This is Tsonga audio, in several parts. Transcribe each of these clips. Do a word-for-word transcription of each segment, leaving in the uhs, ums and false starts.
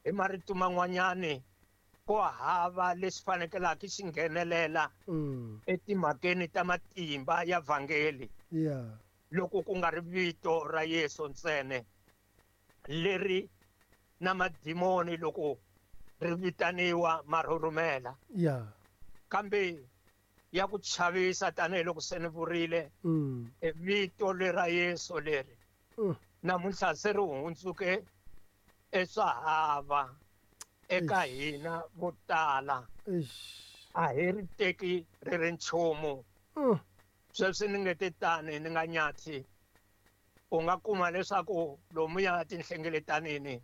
Hi marito man'wanyani ko hava lexi fanekelaka xi nghenelela Mm. etimhakeni ta matimba ya vhangeli. Yeah. Loko ku nga ri vito ra Yesu ntsena leri na madimoni loko ri vitaniwa ma rhurhumela. Yeah. Kambe ya ku chavisa tanihiloko se ni vurile, Mm. e vito lera Yesu leri Mm. namuntlha se ri hundzuke eswahava eka Eish. hina vo tala. Eish. A hi ri teki ri ri nchumu. Mm. Sweswi ni nge te tani ni nga nyathi, u nga kuma leswaku lomuya tinhlengeletanini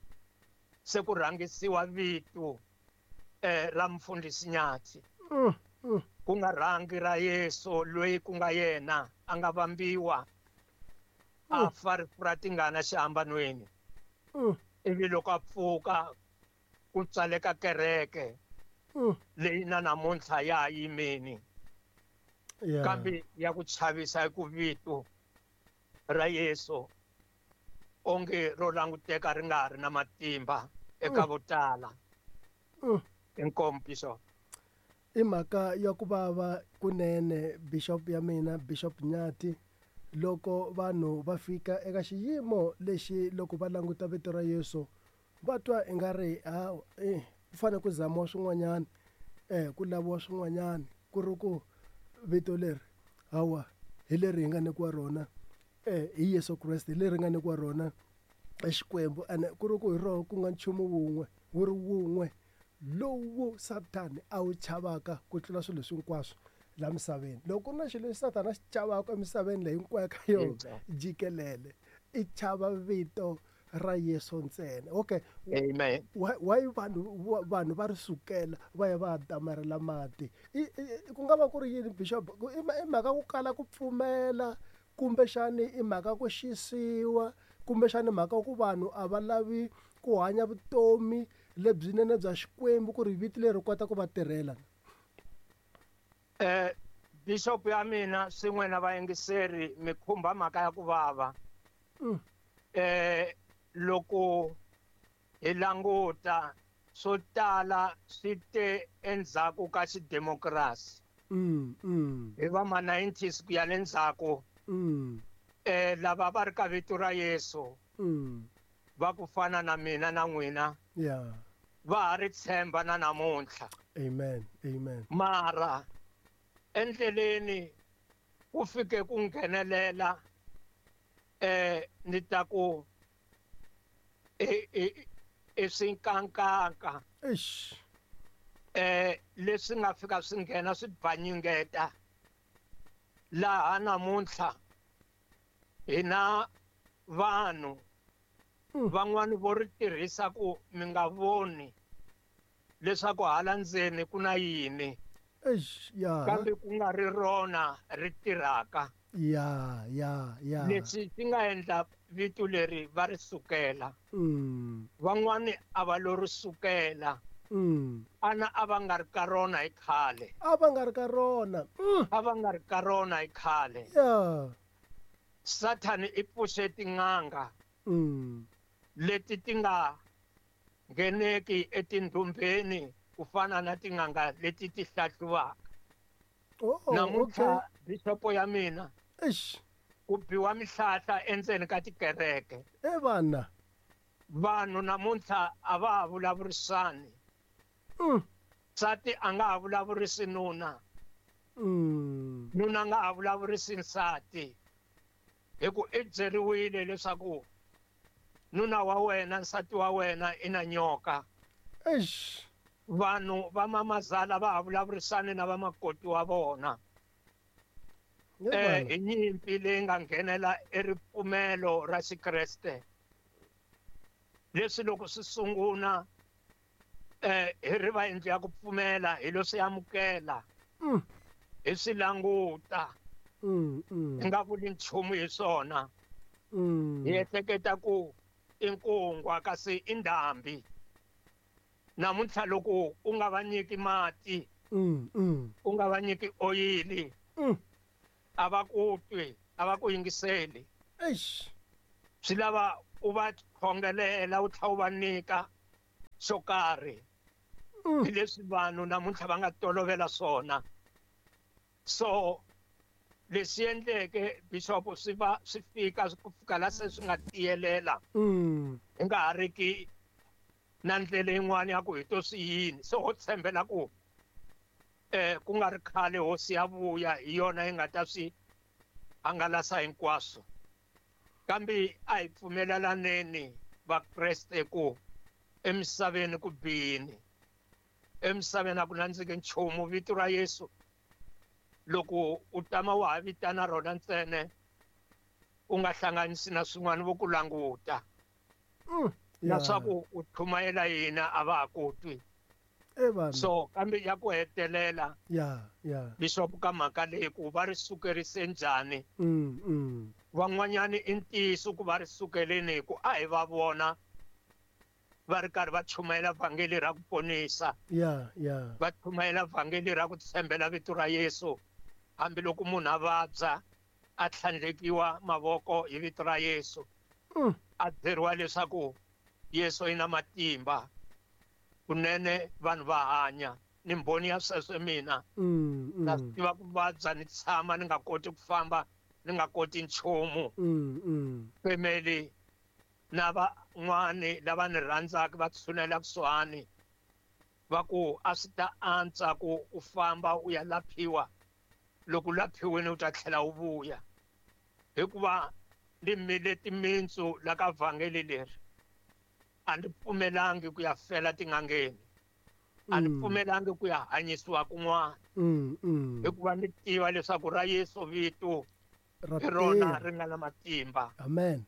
se ku rhangisiwa vito, eh, ra mfundhisi Nyathi. Mm, mm. Ku nga rhangi ra Yesu loyi ku nga yena a nga vambiwa a Mm. fa rifu ra tingana xihambanweni. Mm. Ivi loko a pfuka ku tsaleka kereke Mm. leyi na namuntlha ya ha yimeni. Yeah. Kambe ya ku chavisa hi ku vito ra Yesu onge ro languteka ri nga ha ri na matimba eka Mm. vo tala. Mm. Inkomu, Bishop. I mhaka ya ku vava kunene, Bishop ya mina, Bishop Nyathi, loko vanhu va fika eka xiyimo lexi loko va languta vito ra Yesu va twa ingari ha, eh, ku fanele ku zamiwa swin'wanyana, eh, ku laviwa swin'wanyana, ku ri ku vito leri hawa hi leri hi nga nyikiwa rona, eh, hi Yesu Kreste, hi leri nga nyikiwa rona Xikwembu, ene ku ri ku hi roho ku nga nchumu wun'we wu ri wun'we lowu Sathani a wu chavaka ku tlula swilo leswi hinkwaswo la misaveni. Loko ku ri na xilo lexi Sathana a xi chavaka emisaveni leyi hinkwayo ka yona jikelele, i chava vito ra Yesu ntsena. Okay. Amen. Why, why vanhu, vanhu va ri sukela va ya va damarela mati? I, i, ku nga va ku ri yini, Bishop? Ku, i ma-, i mhaka ku kala ku pfumela, kumbexani i mhaka ku xisiwa, kumbexani mhaka ku vanhu a va lavi ku hanya vutomi lebyinene bya Xikwembu ku ri vito leri kota ku va tirhela? Eh, Bishop ya mina swin'we na vayingiseri mi khumba mhaka ya ku vava. Mm. Eh, loko hi languta swo tala swi te endzhaku ka xidemokirasi. Mm, mm. Hi va ma nineties ku ya le ndzhaku. Mm. Eh, lava va ri ka vito ra Yesu. Mm. Va ku fana na mina na n'wina. Yeah. Va ha ri tshemba na namuntlha. Amen. Amen. Mara endleleni ku fike ku nghenelela, eh, ni ta ku e, e, e swinkankanka. Eish. Eh, leswi nga fika swi nghena swi bvanyingeta. Laha namuntlha hina vanhu Mm. van'wani vo ri tirhisa ku mi nga voni leswaku hala ndzeni ku na yini. Eish, ya. Kambe ku nga ri rona ri tirhaka. Ya, ya, ya. Leswi swi nga endla vito leri va ri sukela. Mm. Van'wani a va lo ri sukela. Mm. Ana a va nga ri ka rona hi khale. A va nga ri ka rona. Mm. A va nga ri ka rona hi khale. Ya. Sathani i pfuxe tin'anga. Mm. Leti ti nga ngheneki etindhumbeni ku fana na tin'anga leti ti hlahluwaka. Oh, Namuntlha, okay. Bishop ya mina, Eish. ku biwa mihlahla endzeni ka tikereke. E vana. Vanhu namuntlha a va ha vulavurisani. Mm. Nsati a nga ha vulavurisi nuna. Mm. Nuna a nga ha vulavurisi nsati. Hi ku i byeriwile leswaku nuna wa wena, nsati wa wena i na nyoka. Eish. Vanhu va mamazala va ha vulavurisani na vamakoti wa vona. Ye Eh, vana. hi nyimpi leyi nga nghenela eripfumelo ra Xikreste. Leswi loko swi sungula, eh, hi ri va yindlu ya ku pfumela, hi lo swi amukela. Mm. Hi swi languta. Mm, mm. Hi nga vuli nchumu hi swona. Mm. Hi ehleketa ku i nkungwa kasi i ndhambi. Namuntlha loko u nga va nyiki mati, Mm, mm. u nga va nyiki oyili, Mm. a va ku twi, a va ku yingiseli. Eish. Swi lava u va khongelela, u tlhela u va nyika xo karhi. Mm. Hi leswi vanhu namuntlha va nga tolovela swona. So leswi endleke bishop swi va swi fika ku fika la se swi nga tiyelela. Mm. Hi nga ha ri ki na ndlela yin'wana ya ku hi to swi yini. So ho tshembela ku eh ku nga ri khale hosi ya vuya hi yona yi nga ta swi hangalasa hinkwaswo. Kambe a hi pfumelelaneni Vakreste ku emisaveni ku bihini. Emisaveni a ku nandziki nchumu. Vito ra Yesu loko u tama wa ha vitana rona ntsena u nga hlanganisi na swin'wana vo ku languta. Mm, Na yeah. swa ku u chumayela yina a va ha ku twi. Eh, vanhu. So kambe ya ku hetelela Yeah, yeah. bishop ka mhaka leyi ku va ri sukerise njhani. Mm, mm. Van'wanyani i ntiyiso ku va ri sukeleni hi ku a hi va vona va ri karhi va chumayela vhangeli ra ku ponisa. Yeah, yeah. Va chumayela vhangeli ra ku tshembela vito ra Yesu. Hambiloko munhu a vabya a tlhandlekiwa mavoko hi vito ra Yesu. Mm. A byeriwa leswaku Yesu i na matimba. Kunene vanhu va hanya. Ni mbhoni ya sweswo mina. Mm, Na mm. swi tiva ku vabya ni tshama ni nga koti ku famba, ni nga koti nchumu. Mm, mm. Family na van'wani lava ni rhandzaka va tshunela kusuhani va ku a swi ta antswa ku u famba u ya laphiwa. Loko u laphiwile u ta tlhela u vuya. Hikuva ni mile timintsu la ka vhangeli leri. A ni pfumelangi ku ya fela tin'angeni. A ni Mm. pfumelangi ku ya hanyisiwa kun'wana. Mm, mm. Hikuva ni tiva leswaku ra Yesu vito Ra hi rona tirha. ri nga na matimba. Amen.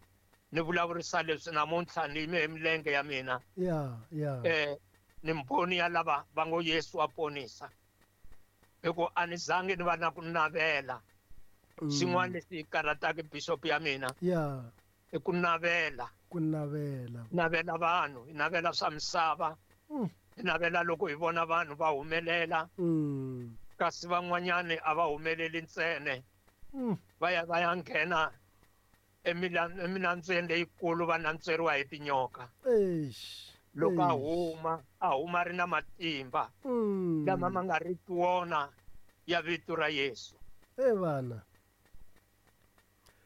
Ni vulavurisa leswi namuntlha ni yime hi milenge ya mina. Yeah, yeah. Eh, ni mbhoni ya lava va ngo Yesu wa ponisa. Hikuva a ni zangi ni va na ku navela. Mm. Xin'wana lexi karhataka bishop ya mina. Yeah. I ku navela. Ku navela. Navela vanhu, hi navela swa misava. Mm. Hi navela loko hi vona vanhu va humelela. Mm. Kasi van'wanyani a va humeleli ntsena. Mm. Va ya va ya nghena emilan-, eminandzweni leyikulu va nantsweriwa hi tinyoka. Eish. Loko a Eish. huma, a huma ri na matimba. Mm. Lama ma nga riki wona ya vito ra Yesu. Eh, vana.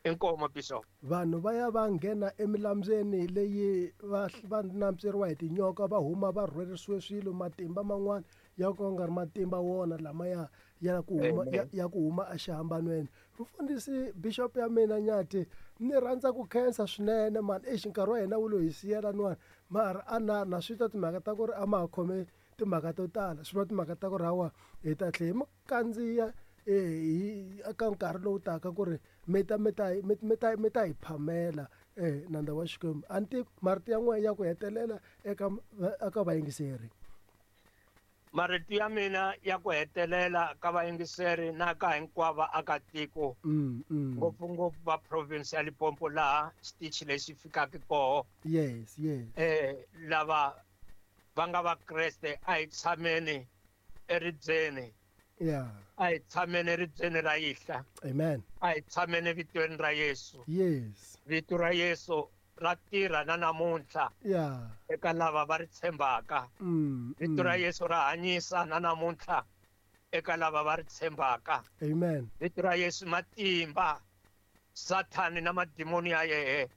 Inkomo bishop. Vanhu va ya va nghena emilambyeni leyi va, va nantsweriwa hi tinyoka, va huma va rhwerisiwe swilo, matimba man'wana ya ku nga ri matimba wona lama ya, ya ku huma, Amen. ya, ya ku huma exihambanweni. Mfundhisi bishop ya mina Nyathi, ni rhandza ku khensa swinene man. Eish, nkarhi wa hina wu lo hi siyela nwani. Mara a na, na swi twa timhaka ta ku ri a ma ha khome timhaka to tala. Swi vula timhaka ta ku ri hawa hi ta tlhela hi mi kandziya, eh, hi eka nkarhi lowu taka ku ri mi ta, mi ta, mi, mi ta, mi ta hi phamela, eh, nandza wa Xikwembu. A ni tivi marito ya n'wina ya ku hetelela eka, eka vayingiseri. Marito ya mina ya ku hetelela ka vayingiseri na ka hinkwavo vaakatiko, Mm, mm. ngopfungopfu va province ya Limpopo laha xitichi lexi fikaka koho. Yes, yes. Eh, lava va nga Vakreste a hi tshameni eribyeni. Yeah. A hi tshameni eribyeni ra Yihla. Amen. A hi tshameni evitweni ra Yesu. Yes. Vito ra Yesu ra tirha na namuntlha. Yeah. Eka lava va ri tshembaka. Mm, Vito ra mm. Yesu ra hanyisa na namuntlha eka lava va ri tshembaka. Amen. Vito ra Yesu matimba. Sathani na madimoni ya yehe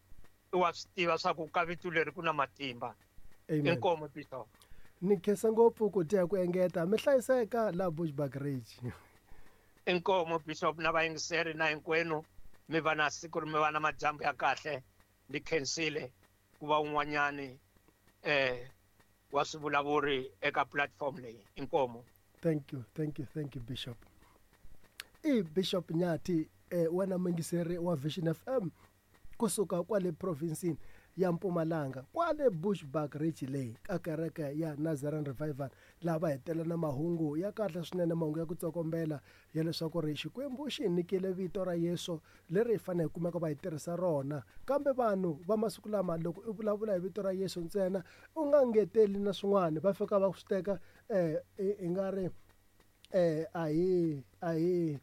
i wa swi tiva swa ku ka vito leri ku na matimba. Amen. Inkomo bishop. Ni khensa ngopfu ku dya ku engeta. Mi hlayiseka la Bushbuckridge. Inkomo bishop na vayingiseri na hinkwenu mi va na siku mi va na madyambu ya kahle. Ni khensile ku va un'wanyani, eh, wa swivulavuri eka platform leyi. Inkomo. Thank you, thank you, thank you Bishop. I Bishop Nyathi, eh, wena muyingiseri wa Vision F M kusuka kwale provinsini ya Mpumalanga, kwale Bushbuckridge leyi ka kereke ya Nazarene Revival, laha va hetelela na mahungu ya kahle swinene, mahungu ya ku tsokombela ya leswaku ri Xikwembu xi hi nyikile vito ra Yesu leri hi fanele hi kumeka va hi tirhisa rona. Kambe vanhu va masiku lama loko u vulavula hi vito ra Yesu ntsena u nga ngeteli na swin'wana, va fika va swi teka, eh, i, i nga ri, eh, a hi, a hi,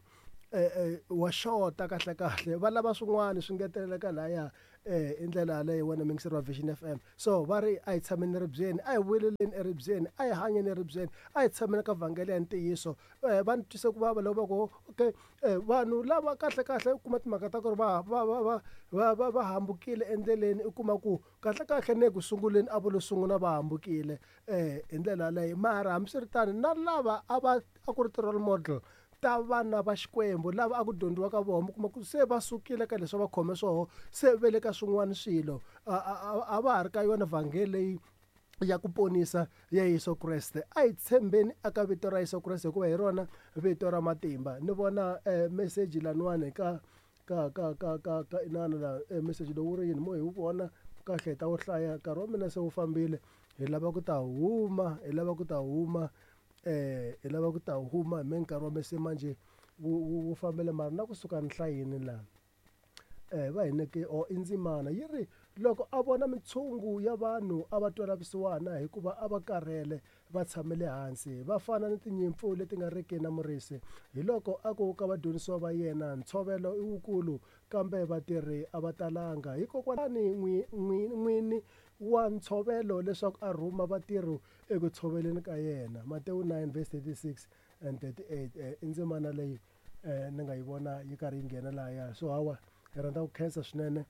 wa xota kahle kahle va lava swin'wana swi ngeteleleka laya i ndlela yaleyo wena muyingiseri wa Vision F M. So va ri a hi tshameni eribyeni, a hi vuyeleleni eribyeni, a hi hanyeni eribyeni, a hi tshameni ka vhangeli ya ntiyiso. Va ni twise ku vava loko va ku okay vanhu lava kahle kahle u kuma timhaka ta ku ri va va va va va va va hambukile endleleni, u kuma ku kahle kahle ne ku sunguleni a vo lo sungula va hambukile hi ndlela yaleyo. Mara hambiswiritano na lava a va a ku ri ti-role model ta vana va Xikwembu lava a ku dyondziwa ka vona, mi kuma ku se va sukile ka leswi va khome swoho, se ve le ka swin'wana swilo, a va ha ri ka yona vhangeli leyi ya ku ponisa ya Yesu Kreste. A hi tshembeni eka vito ra Yesu Kreste hikuva hi rona vito ra matimba. Ni vona message laniwani ka ka ka ka ka ka inana la message lowu wu ri yini mo hi wu vona kahle hi ta wu hlaya, nkarhi wa mina se wu fambile, hi lava ku ta huma, hi lava ku ta huma eh hi lava ku ta huma hi nkarhi wa mese manje wu wu fambele mara na kusuka ni hlayini laha eh va hi nyike o i ndzimana yi ri loko a vona mitshungu ya vanhu a va twela vusiwana hikuva a va karhele va tshamele hansi va fana ni tinyimpfu leti nga riki na murisi. Hi loko a ku ka vadyondzisiwa va yena, ntshovelo i wukulu kambe vatirhi a va talanga, hikokwalani n'wini wa ntshovelo leswaku a rhuma vatirhi eku tshoveleni ka yena. Matewu nine verse thirty-six and thirty-eight. I ndzimana leyi ni nga yi vona yi karhi yi nghena lahaya. So hawa hi rhandza ku khensa swinene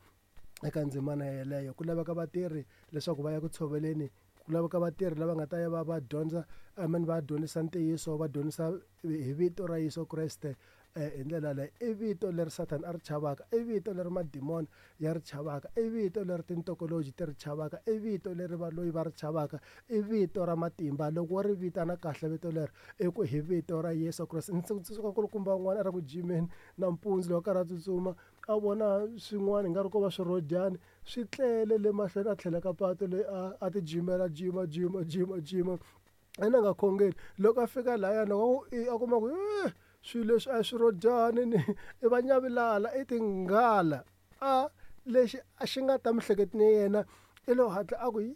eka ndzimana yeleyo. Ku laveka vatirhi leswaku va ya ku tshoveleni, ku laveka vatirhi lava nga ta ya va va dyondza, I mean va dyondzisa ntiyiso, va dyondzisa hi vito ra Yesu Kreste hi ndlela leyi. I vito leri Satan a ri chavaka, i vito leri madimoni ya ri chavaka, i vito leri tintokoloji ti ri chavaka, i vito leri valoyi va ri chavaka, i vito ra matimba. Loko wo ri vitana kahle vito leri, i ku hi vito ra Yesu Kreste. Ndzi tsundzuka nkulukumba un'wana a ri ku jimeni nampundzu loko a karhi a tsutsuma, a vona swin'wana nga ri ko va swirhodyani swi tlele le mahlweni, a tlhela ka patu leyi a a ti jimela jima jima jima jima ene a nga khongeli. Loko a fika lahaya loko a kuma ku swilo leswi a hi swirhodyani ni i va nyavilala i tinghala, a lexi a xi nga ta miehleketweni ya yena i lo hatla a ku yi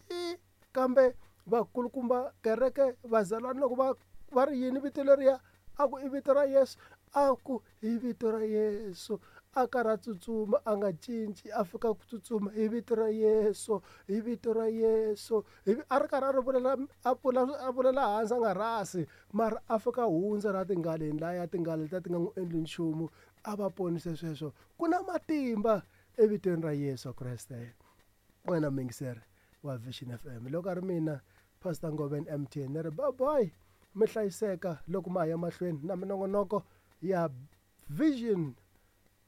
kambe vakulukumba kereke vazalwana loko va va ri yini vito leriya, a ku i vito ra Yesu, a ku hi vito ra Yesu. A karhi a tsutsuma a nga cinci, a fika ku tsutsuma hi vito ra Yesu, hi vito ra Yesu, a ri karhi a ri vulela a pfula a vulela hansi a nga rhasi, mara a fika hundza ra tinghaleni laya tinghala letiya ti nga n'wi endli nchumu, a va ponise sweswo. Ku na matimba evitweni ra Yesu Kreste. Wena muyingiseri wa Vision F M, loko a ri mina Pastor Ngoveni M T ni ri bye bye, mi hlayiseka loko ma ha ya mahlweni na minongonoko ya Vision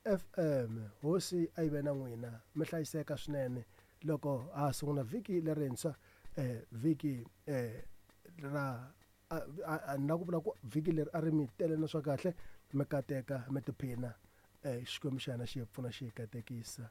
F M. Hosi a yi ve na n'wina, mi hlayiseka swinene loko ha sungula vhiki lerintshwa, eh vhiki eh ra a na ku vula ku vhiki leri a ri mi tele na swa kahle, mi kateka mi tiphina, eh Xikwembu xa hina xi hi pfuna xi hi katekisa.